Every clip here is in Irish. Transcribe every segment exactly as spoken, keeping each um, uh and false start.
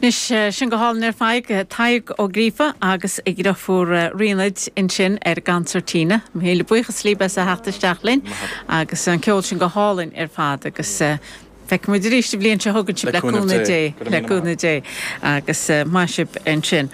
Anois sin go hálainn ar fad Tadhg Ó Gríofa agus a dheirfiúr Ríonad ansin ar an gconsairtín. Míle buíochas libh as a theacht isteach linn agus an ceol sin go hálainn ar fad agus feicfidh muid arís an bhliain seo chugainn sibh le cúnamh Dé le cúnamh Dé agus maith sibh ansin.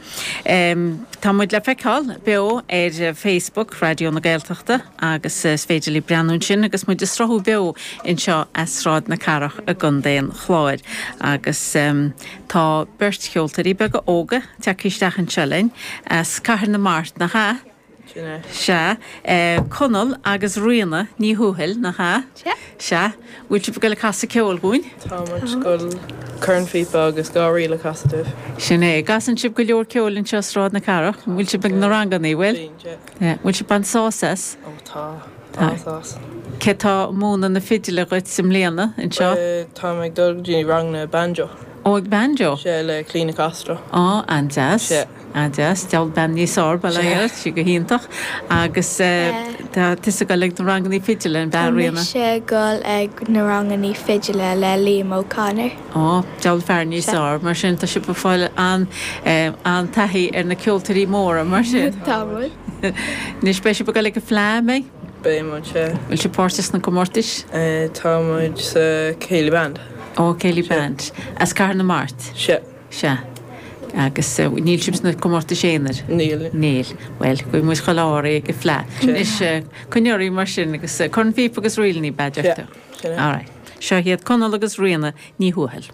Tá muid le feiceáil beo ar Facebook Raidió na Gaeltachta agus is féidir libh breathnú ansin agus muid ag sruthú beo anseo as Sráid na Cathrach i gContae an Chláir agus um, tá beirt cheoltóirí beaga óga tagtha isteach anseo linn as Cathair na Mart nach ea? Sea, Conall agus Ríona Ní Thuathail, nach ea? Sea. Sea. Bhfuil sibh ag dul ag casadh ceoil dhúinn? Tá muid ag dul corn phíopa agus dhá ríl a chasadh dúibh. Sin é. Casann sibh go leor ceoil anseo i Sráid na Cathrach. Bhfuil sibh ag na ranganna, bhfuil? Bíonn, sea. Bhfuil sibh ag baint sásamh as? Ó tá. An-sásamh. Cé tá ag múineadh na fidile dhuit i mbliana anseo? Tá mé ag dul go dtí ranganna banjo. Ó, ag banjo? Sea, le Clíona Castro. Á, an-deas. Sea. An-deas. Deabhal bean níos fearr, bail ó Dhia uirthi, sí go hiontach. Agus tá tusa ag dul ag na rangannaí fidile, an ea, Tá Ríona? mise ag dul ag na rangannaí fidile le Liam O'Connor. Á, deabhal fear níos Sea. fearr. Mar sin, tá sibh ag fáil an-taithí ar na ceoltóirí móra, mar sin. Tá muid. Anois, beidh sibh ag dul ag an Fleadh, an mbeidh? Beidh muid, sea. Bhfuil sibh páirteach sna comórtais? Tá muid sa Céilí Band. Ó, Céilí Band. As Cathair na Mart? Sea. Sea. Agus níl sibh sna comórtais aonair? Níl. Níl. Bhuel, gabhfaidh muid chuile ádh oraibh ag an Fleadh. Anois, coinnigh oraibh mar sin agus corn phíopa agus ríleanna, b'fhéidir. Sea. Sin é. All right. Seo iad Conall agus Ríona Ní Thuathail.